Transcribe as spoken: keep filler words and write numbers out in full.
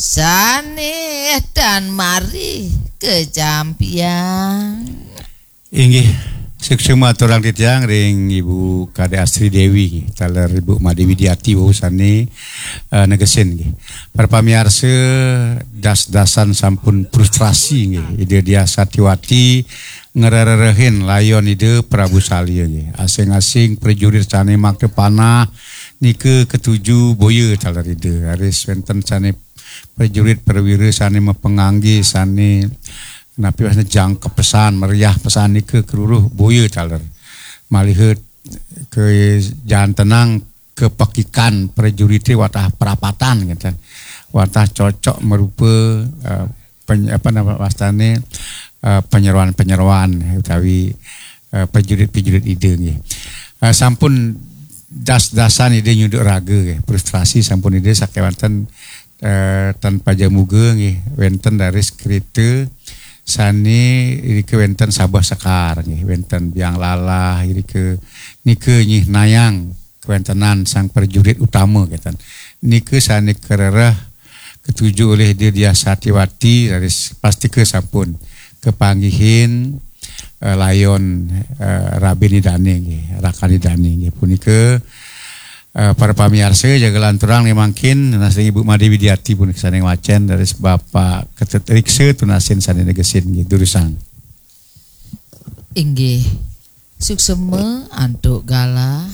Sané tan mari kecampiang. Inggih, suksma aturang titiang ring Ibu Kadek Astri Dewi, taler Ibu Made Widiati, wau sané eh, negesin nggih. Para pamiarsa, das-dasan sampun frustrasi nggih. Ida Diah Satiwati ngrererehin layon Ida Prabu Salya nggih. Asing-asing prajurit sané makta panah nika katuju boya taler Ida. Raris wénten sané prajurit perwira sané mapangangge sané napi wasna jangkep pesan, meriah pesan nika karuruh boya taler. Maliha kajantenan kapekikan prajurité watah prapatan ngéten. Watah cocok marupa eh, peny, apa nama wastané eh, penyeroan-penyeroan utawi eh, prajurit-prajurit Ida nggih. Eh, sampun das-dasan Ida nyunduk raga nggih. Frustrasi sampun Ida sakéwanten eh, tan pajamuga nggih, wénten raris kerita sané irika wénten sabeh sekar nggih, wénten biang lalah irika, nika nyihnayang kawéntenan sang prajurit utama kénten. Nika sané karereh katuju olih Ida Diah Satiwati, raris pastika sampun kapanggihin eh, layon eh, rabin Idané nggih, rakan Idané nggih. Punika eh, para pamiarsa, jaga lanturang nih mangkin, nunas ring Ibu Made Widiati punika sané ngwacén, raris Bapak Ketut Riksa tunasin sané negesin nggih, durusang. Inggih. Suksma antuk galah